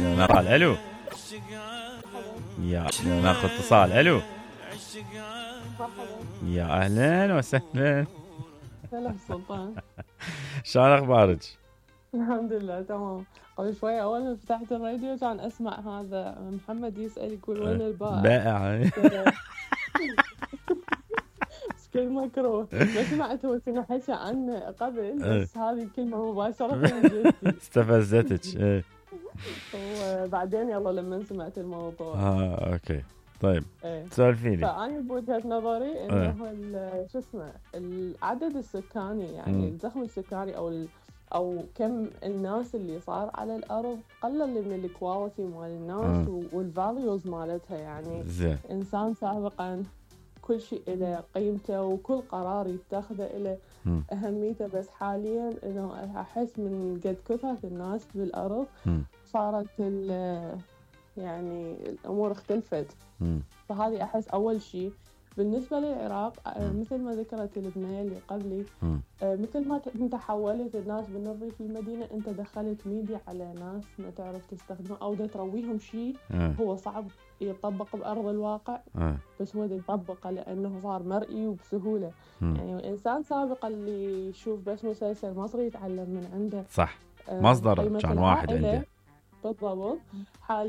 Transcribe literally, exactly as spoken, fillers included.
نقال الو يا ناخذ اتصال. الو يا اهلا وسهلا. هلا سلطان. شلون اخبارك؟ الحمد لله تمام. قبل شوي اول ما فتحت الراديو كان اسمع هذا محمد يسأل يقول وين البائع؟ بائع. كل مكروه. ما سمعت هو كنا حكى عنه قبل بس هذه الكلمة مباشرة من جدي استفزتك. وبعدين يلا لما سمعت الموضوع. اه اوكي طيب ايه. سولفيني. فأنا بوجهة نظري انه شو اسمه العدد السكاني يعني الزخم السكاني او ال او كم الناس اللي صار على الارض قلل من الكواليتي مال الناس والفاليوز مالتها يعني. زين. انسان سابقا كل شيء له قيمته وكل قرار يتخذه له أهميته، بس حاليا إنه أحس من قد كثرة الناس بالأرض صارت يعني الأمور اختلفت. فهذه أحس أول شيء. بالنسبة للعراق مثل ما ذكرت البنية اللي قبلي مثل ما انت حولت الناس من الريف للمدينة انت دخلت ميديا على ناس ما تعرف تستخدمه او دا ترويهم شيء هو صعب يطبق بأرض الواقع بس هو دا يطبقه لأنه صار مرئي وبسهولة. يعني الإنسان سابقا اللي يشوف بس مسلسل مصري يتعلم من عنده. صح مصدر كان واحد عنده بالضبط.